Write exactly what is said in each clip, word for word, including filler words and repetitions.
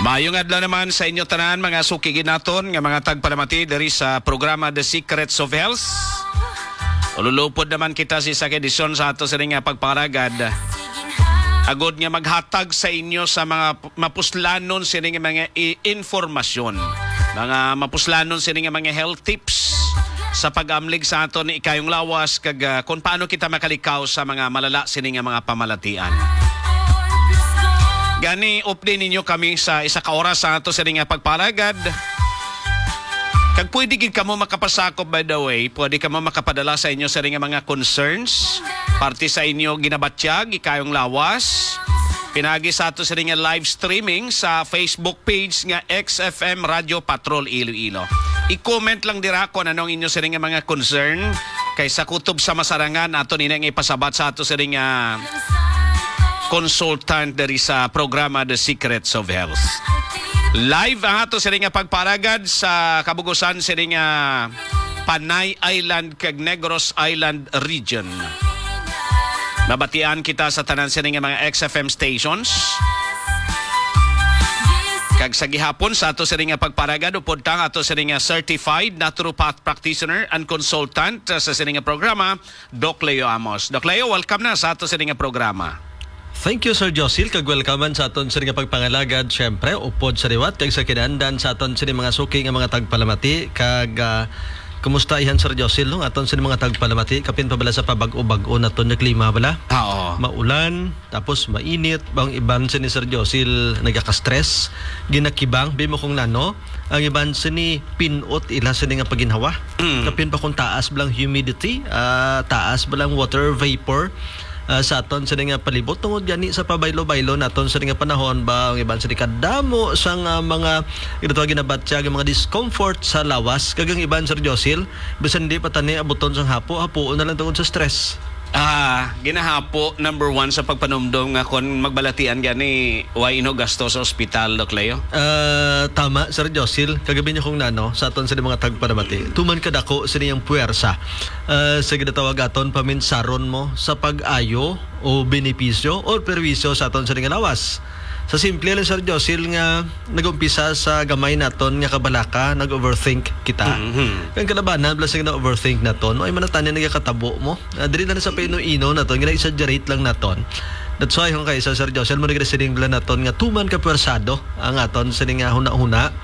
Maayong adlaw naman sa inyo tanan, mga suki naton nga mga tagpalamati diri sa programa The Secrets of Health. Ululupod naman kita sa isa ka edisyon sa ato sining nga pagpangalagad, agod nga maghatag sa inyo sa mga p-, mapuslanon sining nga mga i-, informasyon, mga mapuslanon sining nga mga health tips sa pag-amlig sa aton ikayong lawas kag, ah, kung paano kita makalikaw sa mga malala sining nga mga pamalatian. Gani, updi ninyo kami sa isa ka oras sa ato sining nga pagpangalagad. Kag pwede gid kamo makapasakop, by the way, pwede kamo makapadala sa inyo sining nga mga concerns, parte sa inyo ginabatyag, ikayong lawas, pinagi sa ato sining nga live streaming sa Facebook page nga X F M Radio Patrol Iloilo. I-comment lang dira kung ano ang inyo sining nga mga concern, kay sa kutob sa masarangan ato nina nga ipasabat sa ato sining nga consultant diri sa programa The Secrets of Health. Live ang ato sining nga pagpangalagad sa kabugusan sining nga Panay Island kag Negros Island region. Mabatian kita sa tanan sining nga mga X F M stations. Kag sa gihapon sa ato sining nga pagpangalagad, upod ta nga ato sining nga certified naturopath practitioner and consultant, uh, sa sining nga programa, Doc Leo Amos. Doc Leo, welcome na sa ato sining nga programa. Thank you, Sir Josil, kag welcome man sa aton sining nga pagpangalagad. Siyempre, upod sa liwat kag sa kinandan sa aton sining mga suki nga mga tagpalamati, kag, ah, kumusta ihan, Sir Josil, no? Aton sining mga tagpalamati, kapin pa bala sa pabag-o-bag-o naton nga klima bala. Ah, oo. Maulan, tapos mainit, ang iban sini, Sir Josil, nagaka-stress, ginakibang, bimo kung nano, ang iban sini pinot ila sini nga paginhawa. Mm. Kapin pa kung taas bala ang humidity, ah, taas bala ang water vapor, ah, sa aton sini nga palibot. Tungod gani sa pabaylo-baylo naton sini nga panahon, ba, ang iban sini kadamo sang, ah, mga, ito, ginabatyag ang mga discomfort sa lawas, kag ang iban, Sir Josil, bisan di pa tani abuton sang hapo, hapuon na lang tungod sa stress. Ah, ginahapo, number one sa pagpanumdom nga kon magbalatian gani, why ino gasto sa ospital, Doc Leo? Ah, tama, Sir Josil. Kagabi niyo kung nano, sa aton sa mga tagpanamati. Tuman kadako sa niyang puwersa. Ah, sa ginatawag aton paminsaron mo sa pag-ayo o benepisyo o perwisyo sa aton sa nga lawas. Sa simple lang, Sir Josil, nga nag-umpisa sa gamay naton nga kabalaka, nag-overthink kita. Mhm. Ang kalabanan, bala sing na-overthink naton, ay manatani nagakatabo mo. Ah, dili na sa paino-ino naton, gina-exaggerate lang naton. That's why, kung kaisa, Sir Josil, mo nagre-siling bala naton nga tuman ka pwersado ang aton sining nga huna-huna.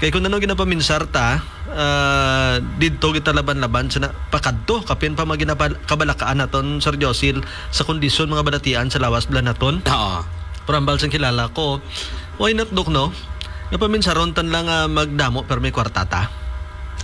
Kay kung ano ginapaminsar ta, ah, didto kita laban-laban sa na-, pakadto, kapin pa mga ginapal-, kabalakaan naton, Sir Josil, sa kondisyon mga balatian sa lawas bala naton. Oo. Pero hambal sang kilala ko, why not, Dok, no? Nga paminsaron tan lang, ah, magdamo pero may kwarta ta.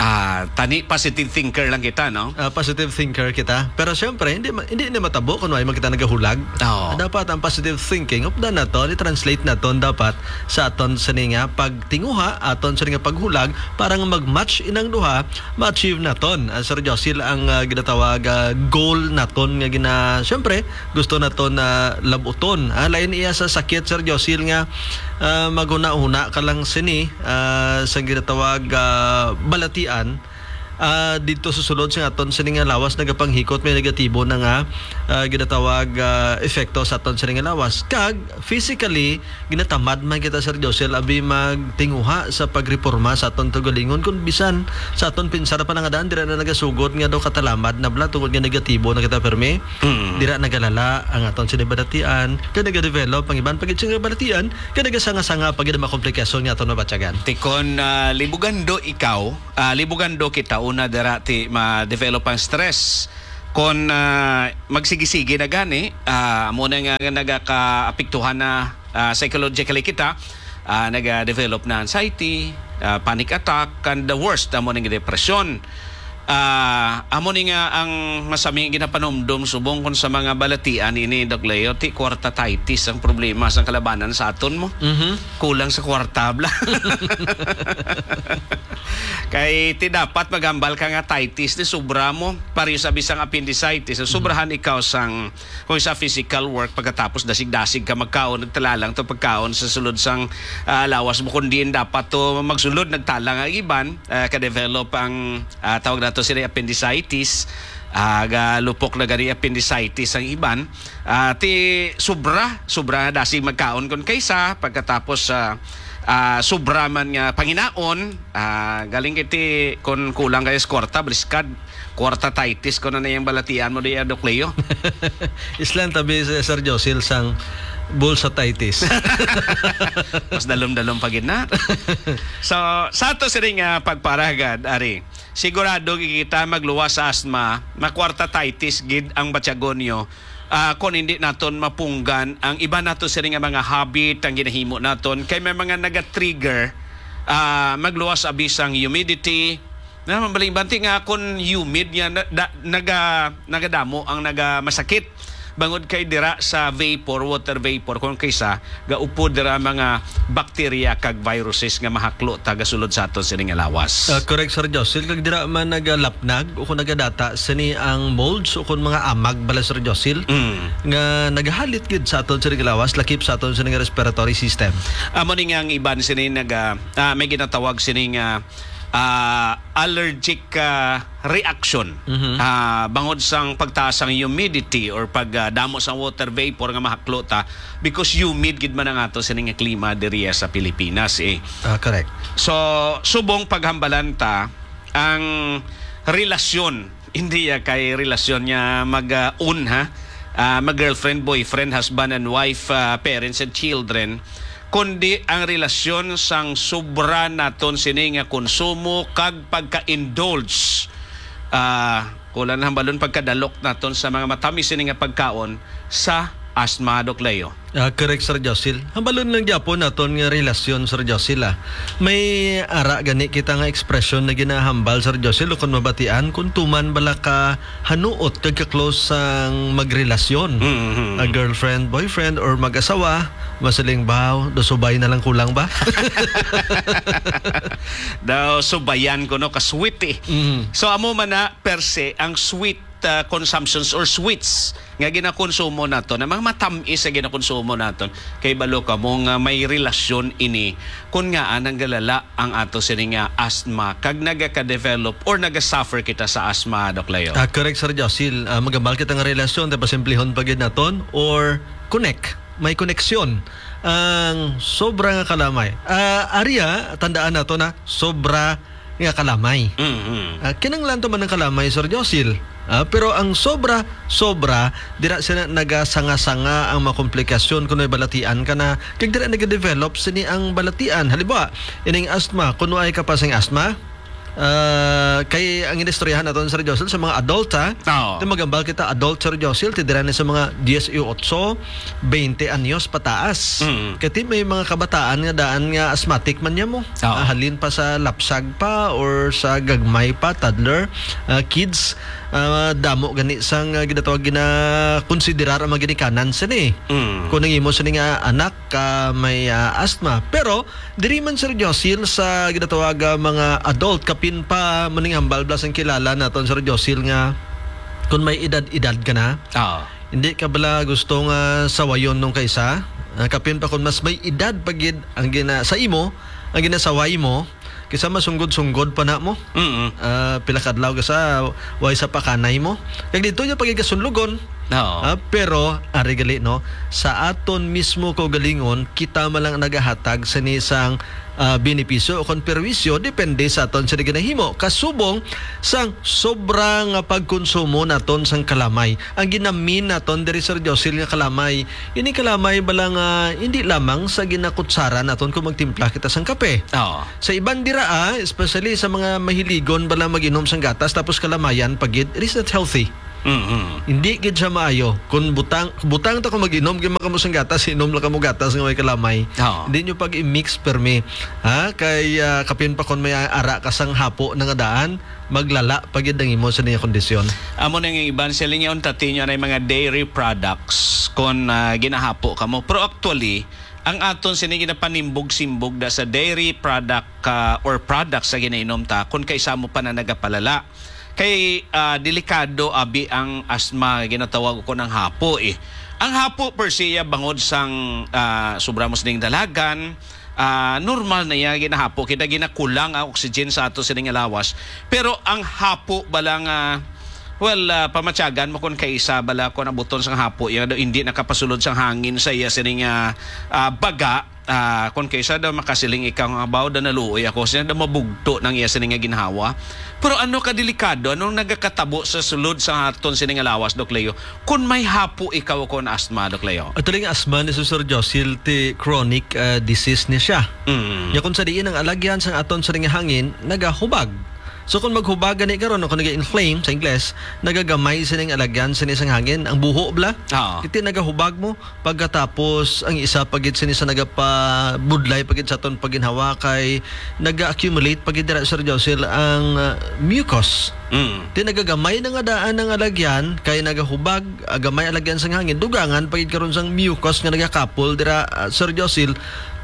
Ah, tani positive thinker lang kita, no? Ah, positive thinker kita. Pero siyempre, hindi ma-, hindi na matabo kung why man kita nagahulag. Oo. Ah, dapat ang positive thinking, updan naton, i-translate naton dapat sa aton sini nga pagtinguha, aton sini nga paghulag, para nga mag-match inang duha, ma-achieve naton, ah, Sir Josil, ang, ah, ginatawag, ah, goal naton nga gina-, siyempre, gusto naton na labuton. Ah, lain iya sa sakit, Sir Josil, nga, ah, maghuna-huna ka lang sini, ah, sa ginatawag, ah, balatian. Ah, dito sa sulod sa aton sini nga lawas nagapanghikot, may negatibo na nga, ah, ginatawag, ah, epekto sa aton sini nga lawas. Kag physically, ginatamad man kita, Sir Josil, abi magtinguha sa pagreporma sa aton kaugalingon, kun bisan sa aton pinsar pa lang nga daan, dira na nagasugod nga daw katalamad na bala tungod nga negatibo na kita permi. Mm. Dira nagalala ang aton sini balatian, kag nagadevelop ang iban pa gid sini nga balatian, kag nagasanga-sanga pa gid ang mga komplikasyon nga aton mabatyagan. Ti kon, ah, libugando ikaw, ah, libugando kita, una dira ti ma-develop ang stress. Kon, ah, magsigi-sigi na gani, ah, amo na nga nagakaapektuhan na, ah, psychologically kita, ah, naga-develop na anxiety, ah, panic attack, and the worst, amo ning depression. Ah, amo ni nga ang masami ginapanumdom subong kon sa mga balatian ini, Doc Leo, ti kwartatitis ang problema sang kalabanan sa aton mo. Mhm. Kulang sa kwarta bala. Kay ti dapat maghambal ka nga titis ni sobra mo, pareho sa bisang appendicitis, so, sobrahan ikaw sang, kung sa physical work, pagkatapos dasig-dasig ka magkaon, nagtala lang to pagkaon sa sulod sang, ah, lawas mo, kun diin dapat to magsulod, nagtala nga iban, ah, ka-develop ang, ah, tawag nato sila appendicitis, ah, galupok na gani appendicitis ang iban, ah, ti sobra, sobra nga dasig magkaon kun kaysa pagkatapos sa ah, sobra man nga panginaon, ah, galing kiti kun kulang kayo sa kwarta, briskad, kwarta titis ko na na yung balatian mo diya, Doc Leo. Islan tabi, Sir Josil, sang bulsa titis. Mas dalom-dalom pa gid na. So, sa ato sining, ah, pagparagad, ari, sigurado kita magluwas sa asma, makwarta titis gid ang batyagon nyo, ah, kung hindi naton mapunggan ang iba nato sini nga mga habit, ang ginahimo naton, kay may mga naga-trigger, ah, magluwas abi sang humidity. Na, mabalingbanti nga kung humid nga na, da, naga, nagadamo ang nagamasakit. Bangod kay dira sa vapor, water vapor, kung kaysa gaupod dira mga bakterya kag viruses nga mahaklo ta gasulod sa aton sini nga lawas. Ah, correct, Sir Josil. Kag dira man nagalapnag o kung nagadata sini ang molds o kung mga amag bala, Sir Josil, Mm. nga nagahalit gid sa aton sini nga lawas, lakip sa aton sini nga respiratory system. Amo ni nga ang iban sini naga, ah, may ginatawag sini nga, ah, allergic, ah, reaction. Mhm. Ah, bangod sang pagtaas sang humidity or pag, ah, damo sang water vapor nga mahaklo ta, because humid gid man ang ato sini nga klima diriya sa Pilipinas, eh. Ah, correct. So, subong paghambalan ta ang relasyon, hindi ya kay relasyon nga mag, ah, un, ha? Ah, mag girlfriend, boyfriend, husband and wife, ah, parents and children, kundi ang relasyon sang sobra naton sini nga konsumo kag pagka-indulge. Ah, kulang na hambalon pagkadalok naton sa mga matamis sini nga pagkaon sa asma, Doc Leo. Ah, correct, Sir Josil. Hambalon lang gyapon naton nga relasyon, Sir Josil, ah. May ara gani kita nga ekspresyon na ginahambal, Sir Josil, o kung mabatian, kung tuman bala ka hanuot kag ka-close sang magrelasyon. Mm-hmm. A girlfriend, boyfriend, or mag-asawa, masiling ba, do subay na lang kulang ba? Daw subayan ko, no, ka-sweet, eh. Mm. So, amo man na, per se, ang sweet, ah, consumptions or sweets nga ginakonsumo naton, ang mga matamis nga ginakonsumo naton, kay balo kamo nga may relasyon ini kun ngaa nanggalala ang ato sini nga asthma kag nagaka-develop or naga-suffer kita sa asthma, Doc Leo. Ah, correct, Sir Josil. Ah, magambal kita nga relasyon, ta pasimplihon pa gid naton, or connect, may koneksyon ang sobra nga kalamay. Ah, aria, tandaan nato na sobra nga kalamay. Mhm. Ah, kinahanglan to man ang kalamay, Sir Josil. Ah, pero ang sobra, sobra, dira sila nagasanga-sanga ang mga komplikasyon kung may balatian ka na, kag dira nagadevelop sini ang balatian. Halimbawa, ining asthma, kung ay ka pa sing asthma, ah, kay ang inistoryahan naton, Sir Josil, sa mga adult, ha? Oo. Ito magambal kita, adult, Sir Josil, ti dira ni sa mga dieciocho, veinte anyos pataas. Mm. Kati may mga kabataan nga daan nga asthmatic man niya mo. Oo. Ah, halin pa sa lapsag pa or sa gagmay pa, toddler, ah, kids, ah, damo gani sang, ah, ginatawag, ginakonsiderar ang mga ginikanan sini. Mm. Kung ang imo sini nga anak ka may, ah, asthma. Pero diri man, Sir Josil, sa ginatawag, ah, mga adult, kapin pa maning hambal bala sang kilala naton, Sir Josil, nga kung may edad-edad ka na, Oo. hindi ka bala gusto nga sawayon nung kaysa? Ah, kapin pa kung mas may edad pa gid ang gina-, sa imo, ang ginasaway mo, kaysa masunggod-sunggod pa na mo. Mm-mm. Ah, pila ka adlaw ka sa way sa pakanay mo. Kag dito niya pagkikasunlugon. Oo. Ah, pero, ari gali, no, sa aton mismo kaugalingon, kita man lang nagahatag sa ni sang, ah, benepisyo o kon perwisyo, depende sa aton sa ginahimo. Kasubong sang sobra nga pagkonsumo naton sang kalamay. Ang ginamin naton diri, Sir Josil, nga kalamay, ini kalamay bala nga hindi lamang sa ginakutsara naton kung magtimpla kita sang kape. Oo. Sa iban dira, ah, especially sa mga mahiligon bala mag-inom sang gatas tapos kalamayan pa gid, it is not healthy. Mhm. Hindi gid siya maayo. Kung butang, butang ta kung mag-inom, kay kamo sang gatas, inom lang kamo gatas nga may kalamay. Oo. Hindi nyo pag-i-mix permi. Ha? Kay, ah, kapin pa kung may ara ka sang hapo na nga daan, maglala pa gid ang imo sa niya kondisyon. Amo na nga iban sila niya, unta tinyo na yung mga dairy products kung, ah, ginahapo kamo. Pero actually, ang aton sini ginapanimbog-simbog da sa dairy product ka or products sa ginainom ta, kung kaisa mo pa na nagapalala. Kay, ah, delikado abi ang asma, ginatawag ko ng hapo, eh. Ang hapo per se, ya, bangod sang, ah, sobra mo sining dalagan, ah, normal na ya, ginahapo kita, ginakulang ang oxygen sa ato sining lawas. Pero ang hapo bala nga, well, ah, pamatyagan mo kung kaisa bala kung abuton sang hapo, ya, do hindi nakapasulod sang hangin sa iya sining, ah, ah, baga, Ah, kon kaysa daw makasiling ikaw nga, "Baw, da naluoy ako," siya daw mabugto nang iya sini nga ginhawa. Pero ano ka delikado, anong nagakatabo sa sulod sa aton sini nga lawas, Doc Leo? Kung may hapo ikaw o kung asthma, Doc Leo? Actually, ang asthma ni Sir Josil, ti chronic, ah, disease ni siya. Mm. Nya kung sa diin ang alagyan sang aton sini nga hangin, nagahubag. So, kung maghubag gani karon, o kung nag-inflame sa Ingles, nagagamay sining alagyan sini sang hangin, ang buho bala. Oo. Iti nagahubag mo, pagkatapos ang isa pa gid sini sa nagapabudlay pa gid sa aton pagginhawa kay naga-accumulate pa gid dira, Sir Josil, ang, ah, mucus. Mm. Ti nagagamay na nga daan ang alagyan kay nagahubag, ah, gamay alagyan sang hangin, dugangan pa gid karon sang mucus nga nagakapol dira, ah, Sir Josil,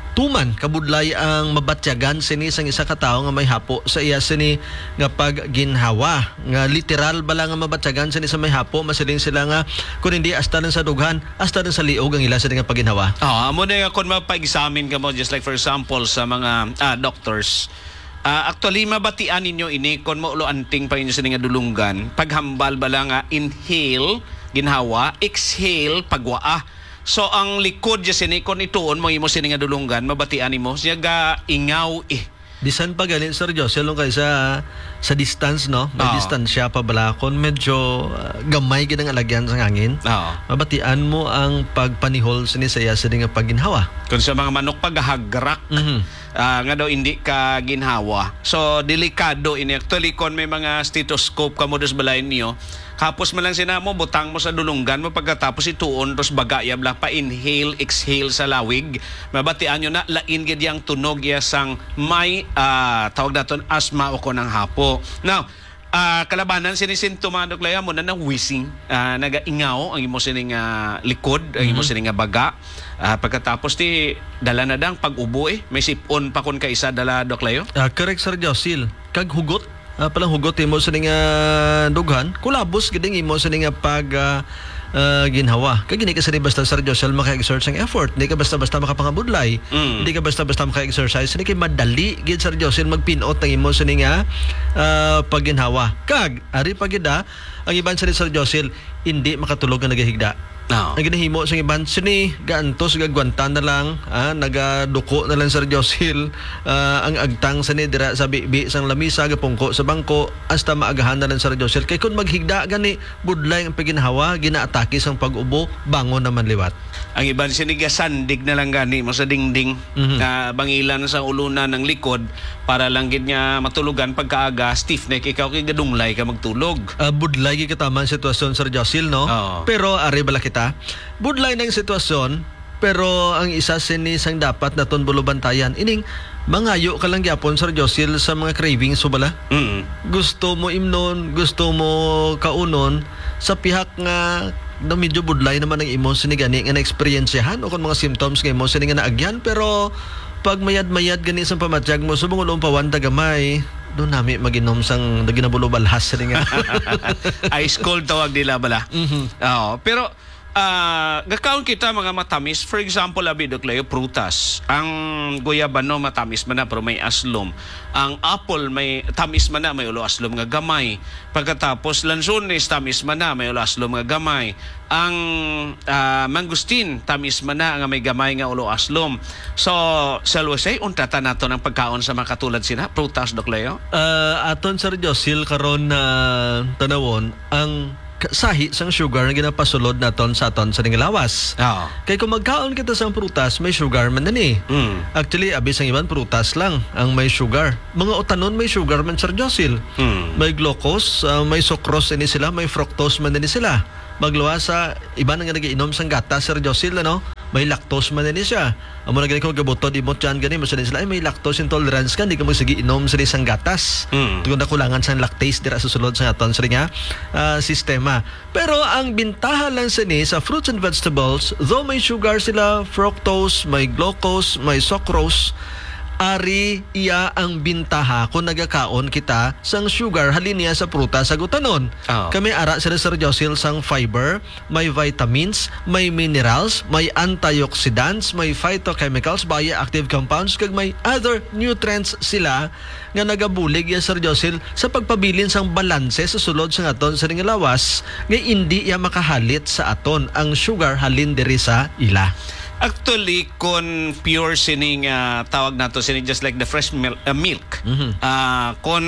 tuman kabudlay ang mabatyagan sini sang isa ka tawo nga may hapo sa iya sini nga pagginhawa, nga literal bala nga mabatyagan sini sa may hapo, masiling sila nga kun hindi hasta lang sa dughan, hasta lang sa liog ang ila sini nga pagginhawa. Ah, amo na nga kung mapa-examine ka mo, just like for example, sa mga, ah, doctors, ah, actually, mabatian ninyo ini kung maulo anting pa inyo sini nga dulunggan, paghambal bala nga inhale, ginhawa, exhale, pagwaa. So, ang likod dya sini, kung ituon mo imo sini nga dulunggan, mabatian nimo, siya ga ingaw eh. Bisan pa gani, Sir Josel, nung kaysa sa distance, no? May Oo. distansya pa bala. Kung medyo, ah, gamay gid ang alagyan sa hangin, Oo. mabatian mo ang pagpanihol sini sa iya sini nga pagginhawa. Kung sa mga manok pa gahagrak, Mhm. ah, nga daw hindi ka ginhawa. So, delikado ini. Actually, kung may mga stethoscope ka mo dos balay niyo, kapos man lang sina mo, butang mo sa dulunggan mo, pagkatapos ituon, dos baga ya bala, pa-inhale, exhale sa lawig. Mabatian nyo na, lain gid yang tunog ya sang may, ah, tawag naton, asma o kon ang hapo. Now, ah, kalabanan sini sintoma, Doc Leo, mo na nang wheezing, ah, nagaingaw ang imo sining, ah, likod, ang imo Mhm. sining nga baga. Ah, pagkatapos ti, dala na dang pag-ubo eh. May sipon pa kon kaisa dala, Doc Leo. Ah, correct, Sir Josil. Kag hugot, ah, palang hugot imo sining, ah, dughan, kulabos gid ang imo sining nga pag, ah, ah, ginhawa. Kag hindi ka sini basta, Sir Josel, maka-exert sang effort. Hindi ka basta-basta makapangabudlay. Mm. Hindi ka basta-basta maka-exercise. Hindi kay madali gid, Sir Josel, magpinot ang imo sini nga, ah, pagginhawa. Kag, ari pa gid, ah, ang iban sini, Sir Josel, hindi makatulog nga nagahigda. Oo. Ang ginahimo sang iban sini, gaantos, gagwanta na lang, ah, nagaduko na lang, Sir Josel, ah, ang agtang sini dira sa bibi sang lamisa, gapungko sa bangko, hasta maagahan na lang, Sir Josel. Kay kung maghigda gani, budlay ang pagginhawa, ginaatake sang pag-ubo, bangon naman liwat. Ang iban sini gasandig na lang gani mo sa dingding, Mhm. nga bangilan sa ulunan ang likod para lang gid nga matulogan pagkaaga, stiff neck, ikaw kay gadunglay ka magtulog. Ah, budlay gid katama ang sitwasyon, Sir Josil, no? Oo. Pero ari bala kita, budlay na ang sitwasyon, pero ang isa sini sang dapat naton bulubantayan, ining mangayo ka lang gyapon, Sir Josil, sa mga cravings mo bala. Mm. Gusto mo imnon, gusto mo kaunon, sa pihak nga na medyo budlay naman ang imo sini gani nga naeksperyensyahan o kon mga symptoms nga imo sini nga naagyan, pero pag mayad-mayad gani sa pamatyag mo, subong ulo pawan ta gamay, do nami mag-inom sang ginabulo balhas sini nga. Ice cold tawag nila bala. Mhm. Oo, pero, ah, gakaon kita mga matamis. For example, abi, Doc Leo, prutas. Ang guyabano matamis man na, pero may aslom. Ang apple may tamis man na, may ulo aslom nga gamay. Pagkatapos, lansones, tamis man na, may ulo aslom nga gamay. Ang, ah, mangustin, tamis man na, nga may gamay nga ulo aslom. So, shall we say, untatan naton ang pagkaon sa mga katulad sina, prutas, Doc Leo? Ah, aton, Sir Josil, karon na tanawon ang ka-, sahi sang sugar nga ginapasulod naton sa aton sa ning lawas. Oo. Kay kung magkaon kita sang prutas, may sugar man na ni. Mm. Actually, abi sang iban, prutas lang ang may sugar. Mga utanon may sugar man, Sir Josil. Mm. May glucose, ah, may sucrose ini sila, may fructose man ini sila. Magluwas sa iban nga nag-iinom sang gatas, Sir Josil, ano? May lactose man ini siya. Amo na gani kung gabutod imong tiyan gani, masanin sila, "Ay, may lactose intolerance ka, hindi ka magsige inom sa isang gatas." Mm. Tungod na kulangan sa lactase dira sa sulod sa aton sini nga, ah, sistema. Pero ang bintaha lang sini sa fruits and vegetables, though may sugar sila, fructose, may glucose, may sucrose, ari iya ang bintaha kung nagakaon kita sang sugar halin niya sa prutas sa gutanon. Ah. Kami ara sila, Sir Josil, sang fiber, may vitamins, may minerals, may antioxidants, may phytochemicals, bioactive compounds, kag may other nutrients sila nga nagabulig ya, Sir Josil, sa pagpabilin sang balanse sa sulod sa aton sa ning lawas, nga indi iya makahalit sa aton ang sugar halin diri sa ila. Actually, kon pure sini nga tawag nato sini, just like the fresh mil-, uh, milk. Mhm. Ah, kon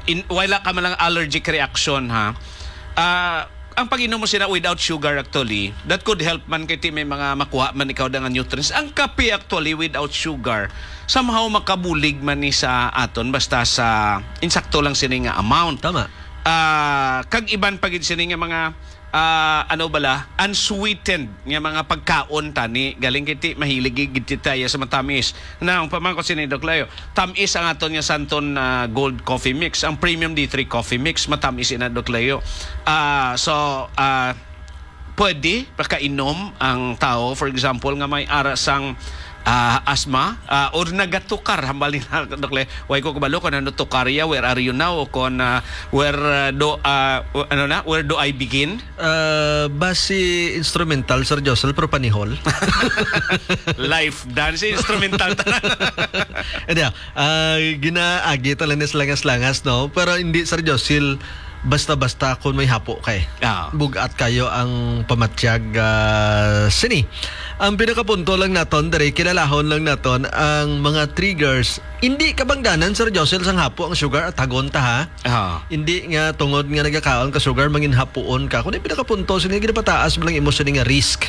in, wala ka man lang allergic reaction, ha. Ah, ang pag-inom mo sina without sugar, actually, that could help man kay ti may mga makuha man ikaw da nga nutrients. Ang kape, actually, without sugar, somehow makabulig man ni sa aton, basta sa insakto lang sini nga amount. Tama. Ah, kag iban pa gid sini nga mga, ah, ano bala, unsweetened nga mga pagkaon tani. Galing kiti, mahilig gid ti tayo sa matamis. Na, ang pamangkot sini, Doc Leo, tamis ang aton nga Santon, ah, Gold Coffee Mix. Ang Premium D three Coffee Mix, matamis ina, Doc Leo. Ah, so, ah, pwede pakainom ang tao, for example, nga may ara sang, ah, asma, ah, or nagatukar, hambal ni Doc Leo. Way ko kabalo kung ano tukarya, where are you now, o kung, ah, where, ah, do, ah, w-, ano na, where do I begin? Ah, basi instrumental, Sir Josel, pero panihol. Life dance, instrumental tanan. Hindi, ah, ginaagi talaga ni langas-langas, no? Pero hindi, Sir Josel, basta-basta kung may hapo kay. Ah. Bugat kayo ang pamatyag, ah, sini. Ang pinakapunto lang naton, diri, kilalahon lang naton ang mga triggers. Hindi kabangdanan, Sir Josel, sang hapo ang sugar at hagon ta, ha? Ah. Hindi nga tungod nga nagakaon ka sugar, mangin hapuon ka. Kung yung pinakapunto, sini ginapataas mo lang imo sini nga risk,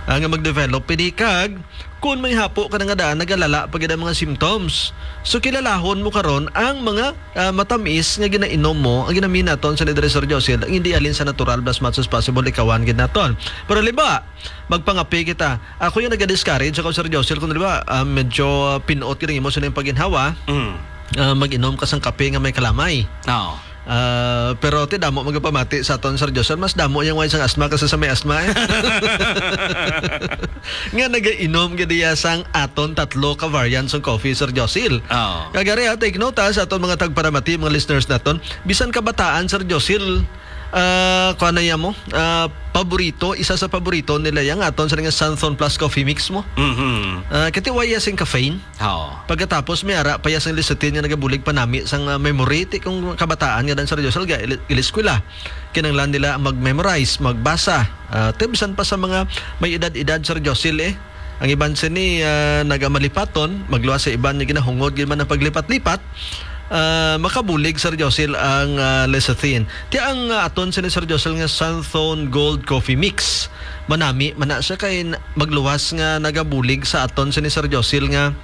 ah, nga mag-develop. Pwede kag, kung may hapo ka na nga daan, nagalala pa gid ang mga symptoms. So, kilalahon mo karon ang mga, ah, matamis nga ginainom mo, ang ginami naton sa ni diri, Sir Josel, ang hindi halin sa natural, as much as possible, ikawan gid naton. Pero, liba, magpangapi kita. Ako yung naga-discourage ako, Sir Josel, kung, di ba, ah, medyo, ah, pinot gid ang imo sa ning pagginhawa. Mm. Ah, mag-inom ka sang kape nga may kalamay. Oo. Ah, pero ti damo magapamati sa aton, Sir Josel, mas damo yung way sang asma kasi sa may asma, eh. Nga nagainom gid iya sang aton tatlo ka variants ng coffee, Sir Josel. Oo. Kagari, ha, take note, ha, sa aton mga tagparamati, mga listeners naton, bisan kabataan, Sir Josel, ah, kuha na iya mo, ah, paborito, isa sa paborito nila yang aton sa nga Santhon Plus Coffee Mix mo. Mhm. Ah, katiwaya sing caffeine. Oo. Pagkatapos, may ara pa iya sang lecithin nga nagabulig panami sang, ah, memory. Ti kung kabataan nga dan, Sir Josel, ga ili-, iliskwela. Kinanglan nila mag-memorize, magbasa. Ah, ti bisan pa sa mga may edad-edad, Sir Josel, eh. Ang iban sini, ah, nagamalipaton, magluwas sa iban nga ginahungod gid man ang paglipat-lipat. Ah, makabulig, Sir Josel, ang, ah, lecithin. Ti ang, ah, aton sini, Sir Josel, nga Santhon Gold Coffee Mix. Manami man na siya kay n-, magluwas nga nagabulig sa aton sini, Sir Josel, nga,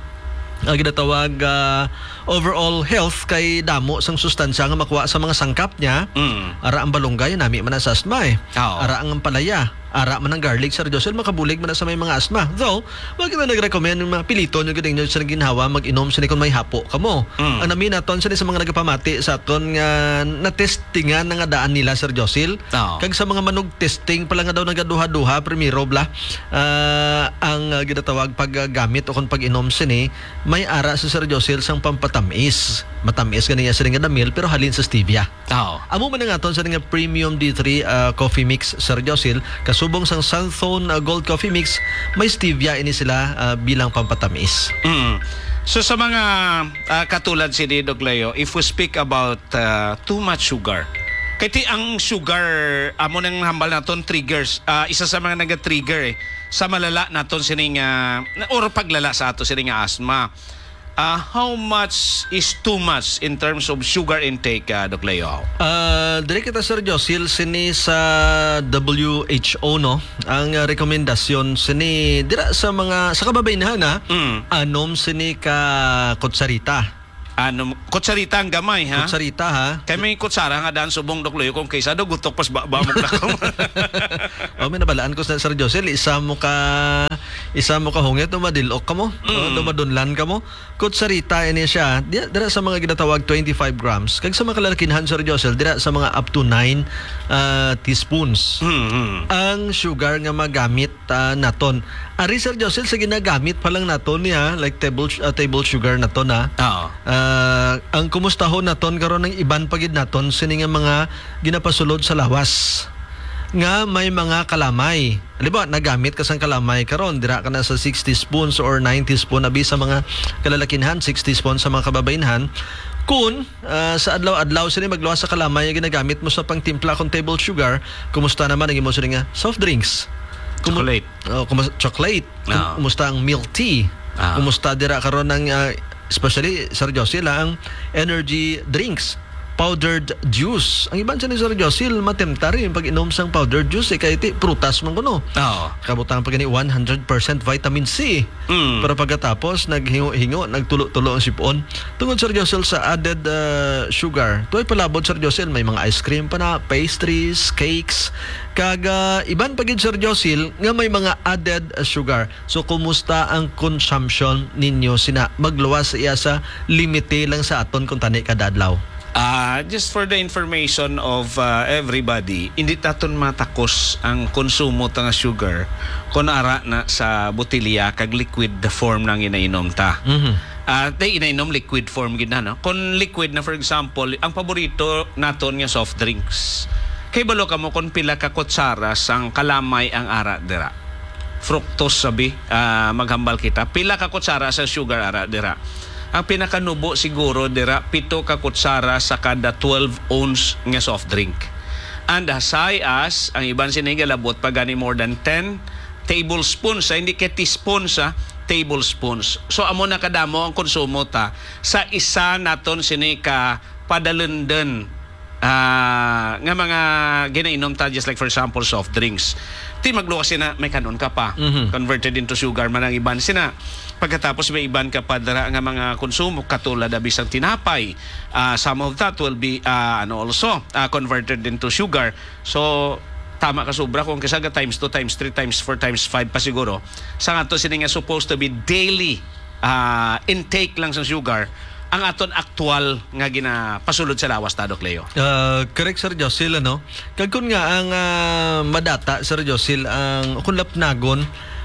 ah, ginatawag, ah, overall health kay damo sang sustansya nga makuha sa mga sangkap niya. Mm. Ara ang balunggay, nami man na sa asma, eh. Oo. Ara ang ampalaya, ara man ang garlic, Sir Josel, makabulig man na sa may mga asma. Though, wag na nag-recommend nga piliton nyo gid ninyo sa ginhawa mag-inom sini kung may hapo kamo. Mm. Ang nami naton sini sa mga nagapamati sa aton nga natestingan na nga daan nila, Sir Josel. Oo. Kag sa mga manug-testing pa lang nga daw nagaduha-duha, primero bala, ah, ang, ah, ginatawag paggamit o kung pag-inom sini, may ara si Sir Josel sang pampatamis. Matamis gani niya sini nga damil, pero halin sa stevia. Oo. Amo man ang aton sa nga premium D three, ah, coffee mix, Sir Josel, kasubong sang Santhon, ah, Gold Coffee Mix, may stevia ini sila, ah, bilang pampatamis. Mm. So, sa mga, ah, katulad si Doc Leo, if we speak about, ah, too much sugar, kay ti ang sugar, amo nang hambal naton triggers, ah, isa sa mga naga-trigger, eh, sa malala naton sining, ah, or paglala sa ato sining asma. Ah, how much is too much in terms of sugar intake, ah, Doc Leo? Ah, diri kita, Sir Josel, sini sa W H O, no? Ang, ah, rekomendasyon sini dira sa mga, sa kababainhan, ha? Mm. Anom sini ka kutsarita. Anom, kutsarita ang gamay, ha? Kutsarita, ha? Kay may kutsara nga daan subong, Doc Leo, kung kaysa daw gutok pas ba, ba mo na kamo. Oh, may nabalaan ko sa Sir Josel, isa mo ka, isa mo ka hungit, no, madilok ka mo, Mm. no, madunlan ka mo. Kutsarita ini siya, di-, dira sa mga ginatawag twenty-five grams. Kag sa mga kalalakinhan, Sir Josel, dira sa mga up to nine, ah, teaspoons. Mm, mm. Ang sugar nga magamit, ah, naton. Ari, Sir Josel, sa ginagamit pa lang naton niya, like table, ah, table sugar naton, ha. Oo. Ah, ang kumustahon naton karon ang iban pa gid naton sini nga mga ginapasulod sa lawas nga may mga kalamay. Halimbawa, nagamit ka sang kalamay karon, dira ka na sa six teaspoons or nine teaspoon, abi sa mga kalalakinhan, six teaspoons sa mga kababainhan. Kun, ah, sa adlaw-adlaw sini magluwas sa kalamay nga ginagamit mo sa pangtimpla kon table sugar, kumusta naman ang imo sini nga soft drinks? Kumu- Chocolate. Oh, kumus-, chocolate. Kum-, Ah. kumusta ang milk tea? Ah. Kumusta dira karon ang, ah, especially, Sir Josil, ah, ang energy drinks, powdered juice? Ang iban sa ni Sir Josil, matemtar yung pag-inom sang powdered juice, eh, kay ti, prutas man kuno. Oo. Kabutang pa gani one hundred percent vitamin C. Mm. Pero pagkatapos, naghingo-hingo, nagtulo-tulo ang sipon. Tungod, Sir Josil, sa added, ah, sugar. Tuway palabot, Sir Josil, may mga ice cream pa na, pastries, cakes, kag, ah, iban pa gid, Sir Josil, nga may mga added, ah, sugar. So, kumusta ang consumption ninyo sina? Magluwas iya sa limite lang sa aton kung tani kada adlaw. Ah, just for the information of, ah, everybody, hindi taton matakos ang konsumo ta nga sugar kon ara na sa botelya kag liquid form na ang ginainom ta. Mhm. Ah, tay inainom liquid form gid na, no? Kon liquid na, for example, ang paborito naton nga soft drinks. Kay balo kamo kon pila ka kutsara sang kalamay ang ara dira. Fructose sabi, ah, maghambal kita. Pila ka kutsara sa sugar ara dira? Ang pinakanubo siguro dira, pito ka kutsara sa kada twelve ounce nga soft drink. And as high as, ang iban sini galabot pa gani more than ten tablespoons, sa hindi kay teaspoons, sa tablespoons. So, amo na kadamo ang konsumo ta sa isa naton sini ka padalenden, ah, nga mga ginainom ta, just like, for example, soft drinks. Ti magluwas sina, may kanon ka pa. Mhm. Converted into sugar man ang iban sina. Pagkatapos may iban ka pa dira nga mga konsumo, katulad na bisang tinapay. Ah, some of that will be, ah, ano, also, ah, converted into sugar. So, tama ka sobra kung kisa ga times two, times three, times four, times five pa siguro. Sa nga to sini nga supposed to be daily, ah, intake lang sa sugar, ang aton aktual nga ginapasulod sa lawas ta, Doc Leo. Ah, correct, Sir Josil, ano? Kag kun nga ang, ah, madata, Sir Josil, ang, kun lapnagon,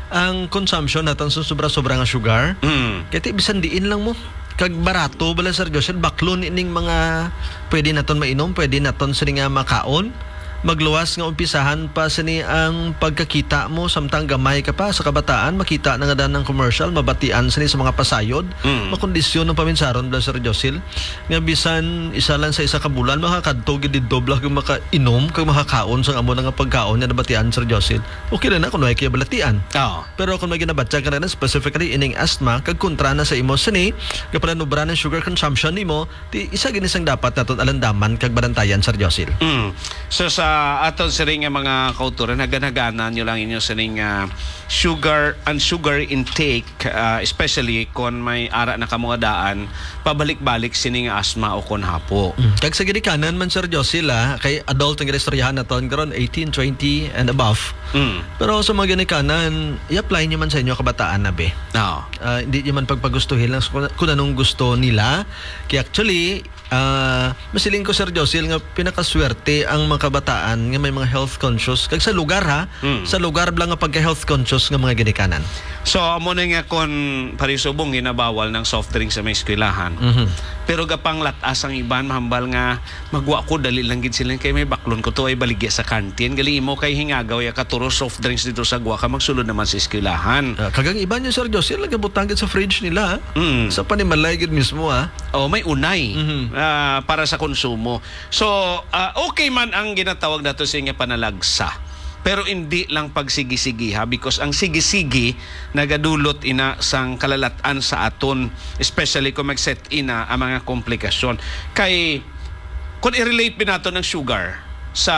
ang consumption naton sa sobra-sobra nga sugar, Mm. kay ti bisan diin lang mo. Kag barato bala, Sir Josil, baklon ining mga pwede naton mainom, pwede naton sini nga makaon. Magluwas nga umpisahan pa sini ang pagkakita mo, samtang gamay ka pa sa kabataan, makita na nga dan ang commercial, mabatian sini sa mga pasayod. Mm. Makondisyon ang paminsaron bala, Sir Josil, nga bisan isa lang sa isa ka bulan, makakadto gid didto bala kag makainom kag makakaon sang amo na nga pagkaon nga nabatian, Sir Josil. Okay na na kung may kabalatian. Oo. Pero kung may ginabatya ka na, specifically ining asthma, kag kontra na sa imo sini, kapalanubra ng sugar consumption nimo, ti isa gini sang dapat naton alandaman kag banantayan, Sir Josil. Mm. So, sa aton sini nga mga kauturan, hagan-haganan nyo lang inyo sining, ah, sugar and sugar intake, ah, especially kon may ara na kamo nga daan, pabalik-balik sining asthma o kon hapo. Mm. Kag sa ginikanan man, Sir Josil, ah, kay adult ang ginistoryahan naton karon, eighteen, twenty and above. Mm. Pero sa mga ginikanan, i-apply nyo man sa inyo kabataan na, be. Oo. Ah, hindi nyo man pagpagustuhin lang kung, kung anong gusto nila. Kaya actually, ah, masiling ko, Sir Josil, nga pinakaswerte ang mga kabataan nga may mga health conscious. Kag sa lugar, ha? Mm. Sa lugar lang nga pagka-health conscious nga mga ginikanan. So, amo na nga kon parisubong ginabawal ng soft drink sa may eskwelahan. Mhm. Pero gapanglatas ang iban, mahambal nga magwa ko, dali lang gid sila kay may baklon ko to ay baligya sa kantin. Gali imo kay hingagaw ya katuro soft drinks dito sa gwa ka magsulod naman sa eskwelahan. Ah, kagang iban yung, Sir Josil, nagabutang gid sa fridge nila, ah. Mm. Sa panimalay gid mismo, ah. Oh, may unay, Mhm. ah, para sa konsumo. So, ah, okay man ang ginatawag nato sa nga panalagsa. Pero hindi lang pagsigi-sigi, ha, because ang sigi-sigi nagadulot ina sang kalalat-an sa aton, especially kung mag-set ina ang mga komplikasyon. Kay kung i-relate bi nato ng sugar sa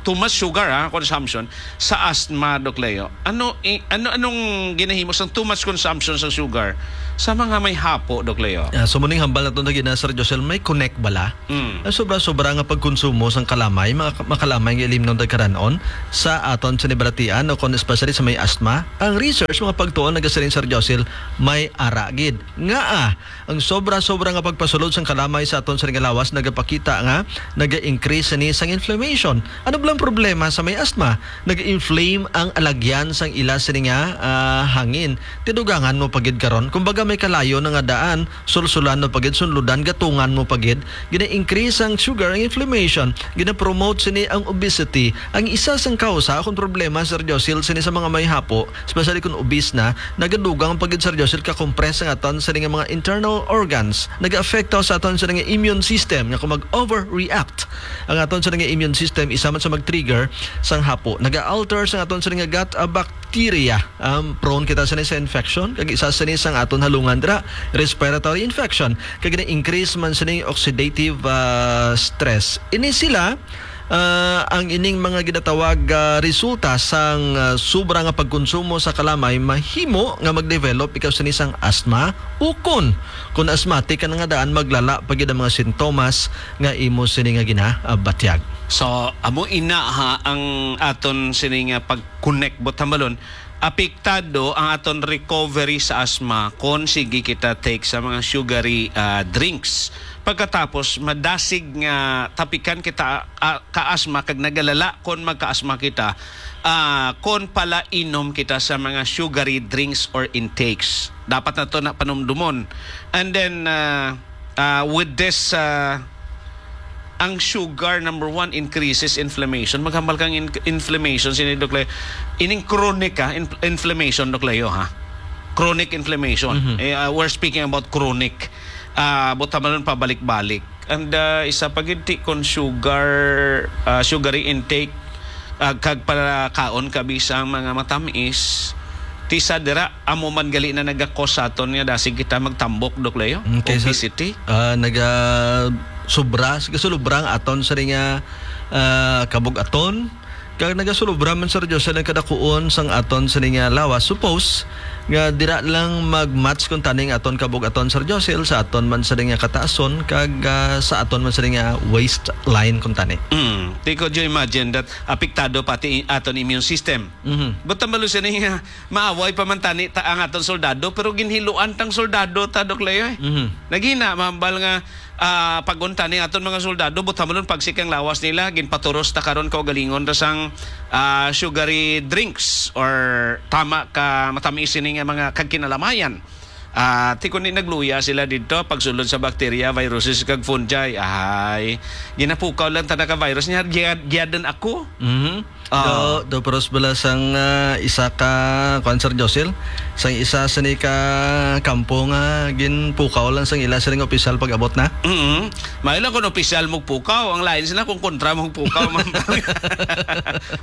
too much sugar, ha, consumption sa asthma, Doc Leo. Ano i-, ano anong ginahimo sang too much consumption sa sugar sa mga may hapo, Doc Leo? Ah, so muning hambal nato na gina, Sir Josel, may connect bala? Mm. Ang sobra-sobra nga pagkonsumo sang kalamay, mga ka-, makalamay nga ilimnon tagkaranon sa aton sinibalatian o kon especially sa may asthma. Ang research, mga pagtuon, nagasiling, Sir Josil, may ara gid. Nga, ah, ang sobra-sobra nga pagpasulod sang kalamay sa aton sining lawas nagapakita nga naga-increase ni sang inflammation. Ano bala ang problema sa may asthma? Naga-inflame ang alagyan sang ila sini nga, ah, hangin. Tidugangan mo pa gid karon. Kumbaga, may kalayo na nga daan, sulsulan mo pa gid, sunludan, gatungan mo pa gid. Gina-increase ang sugar, ang inflammation, gina-promote sini ang obesity. Ang isa sang kausa akong problema, Sir Josil, sini sa mga may hapo, especially kung obese na, nagadugang pa gid, Sir Josil, ka-compress ang aton sini nga mga internal organs. Nag-affect sa aton sini nga immune system, nga kung mag-overreact ang aton sini nga immune system, isa man sa mag-trigger sang hapo. Naga-alter sang aton sini nga gut, ah, bacteria. Um, prone kita sini sa infection, kag isa sini sang aton halungan dira, respiratory infection, kag na-increase man sini oxidative, ah, stress. Ini sila, ah, ang ining mga ginatawag, ah, resulta sang, ah, sobra nga pagkonsumo sa kalamay mahimo nga mag-develop ikaw sini sang asthma, ukon kun asthmatic ka na nga daan, maglala pa gid ang mga sintomas nga imo sini nga ginabatyag. So, amo ina ha ang aton sini nga pag-connect, buot hambalon, apektado ang aton recovery sa asthma kon sige kita take sa mga sugary, ah, drinks. Pagkatapos, madasig nga tapikan kita, ah, ka-asthma kag nagalala kon magka-asthma kita, ah, kon pala inom kita sa mga sugary drinks or intakes. Dapat nato na panumdumon. And then, ah, ah, with this, ah, ang sugar, number one, increases inflammation. Maghambal kang in-, inflammation, sini, Doc Leo. Ining chronic, ah, in-, inflammation, Doc Leo, ha? Chronic inflammation. Mhm. Eh, ah, we're speaking about chronic. Ah, buot hambalon pabalik-balik. And, ah, isa pa gid ti kon sugar, ah, sugary intake, ah, kag pagkaon ka bisang mga matamis, ti sa dira, amo man gali na nagakos sa aton nga dasig kita magtambok, Doc Leo. Mm, kay sa, obesity. Ah, naga-, sobra, gasulubra ang aton sa nga, ah, kabug-aton. Kag nagasulubra man, Sir Jose, ang kadakuon sang aton sini nga lawas. Suppose nga dira lang mag-match kuntani ang aton kabug-aton, Sir Jose, sa aton man sini nga kataason kag, ah, sa aton man sini nga waistline kuntani. Mm. Ti, could you imagine that apektado pati i-, aton immune system? Mhm. Buot hambalon sini nga maaway pa man tani ta ang aton soldado, pero ginhiluan tang soldado ta, Doc Leo, eh. Mhm. Naghina, mahambal nga ah, pag-unta ni aton mga soldado, buot hambalon pagsik ang lawas nila, ginpaturos ta karon kaugalingon ta sang, ah, sugary drinks or tama ka matamis ini nga mga kag kinalamayan. Ah, ti kundi nagluya sila didto pagsulod sa bakterya, viruses, kag fungi. Ay, ginapukaw lang ta na ka virus niya, giya-, giyadan ako. Mhm. Ah. Do, do, pero bala sang, ah, isa ka, kuwan, Sir Josil, sang isa sini ka kampo nga ginpukaw lang sang ila sining opisyal pag-abot na. Mm-mm. Maayo lang kung opisyal magpukaw, ang lain sila kung kontra magpukaw, ma'am.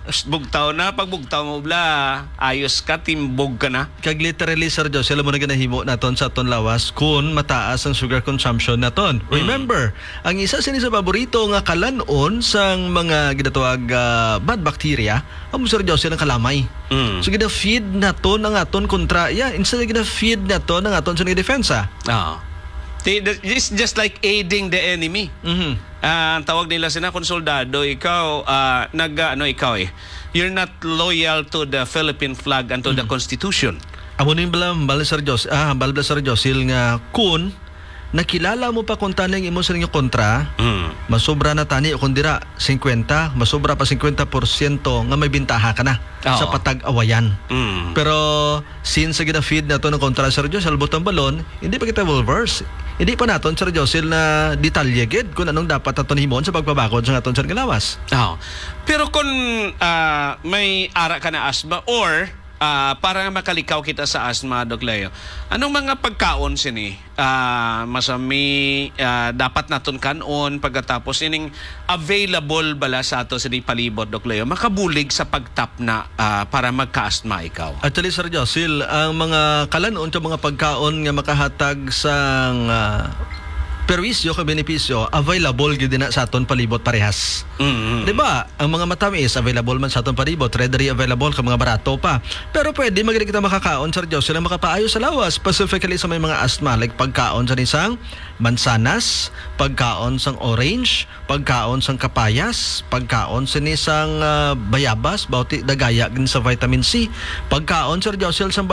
Psst, bugtaw na, pag bugtaw mo, bla, ayos ka, timbog ka na. Kag literally, Sir Josil, amo na ginahimo naton sa aton lawas kun mataas ang sugar consumption naton. Mm. Remember, ang isa sini sa paborito nga kalan-on sang mga ginatawag, ah, bad bacteria, amo, Sir Josil, ang kalamay. Mm. So, gina-feed naton ang aton kontra iya, instead gina-feed naton ang aton sa depensa. Oo. Ti-, the-, it's just like aiding the enemy. Mhm. Ah, ang tawag nila sina, kung soldado ikaw, ah, nag, ah, ano ikaw eh, you're not loyal to the Philippine flag and to the Mm. Constitution. Amo ni bala, bala, Sir Jos-, ah, bala, bala, Sir Josil, nga kun nakilala mo pa kuntani ang imo sa inyo kontra, Mm. masobra na tani o kung dira, singkwenta, masobra pa singkwenta porsyento nga may bintaha ka na Oo. sa patag-awayan. Mm. Pero since sa gina-feed nato ng kontra, Sir Josil, buot hambalon, hindi pa kita well versed. Hindi pa naton, Sir Josil, na detalye gid kung anong dapat naton himoon sa pagpabakod sa aton, Sir, nga lawas. Oo. Pero kung, ah, may ara ka na asthma or, ah, para nga makalikaw kita sa asthma, Doc Leo, anong mga pagkaon sini, ah, masami, ah, dapat naton kan-on pagkatapos ining available bala sa ato sini palibot, Doc Leo, makabulig sa pagtapna, ah, para magka-asthma ikaw? Actually, Sir Josil, ang mga kalan-on sa mga pagkaon nga makahatag sang, ah, perwisyo kag benepisyo, available gyud na sa aton palibot parehas. Mm-hmm. Di ba? Ang mga matamis, available man sa aton palibot, readily available, kag mga barato pa. Pero pwede man gid kita makakaon, Sir Josil, ang makapaayo sa lawas, specifically sa may mga asthma, like pagkaon sa nisang mansanas, pagkaon sang orange, pagkaon sang kapayas, pagkaon sini sang, ah, bayabas, bauti dagaya gid sa vitamin C, pagkaon, Sir Josil, sang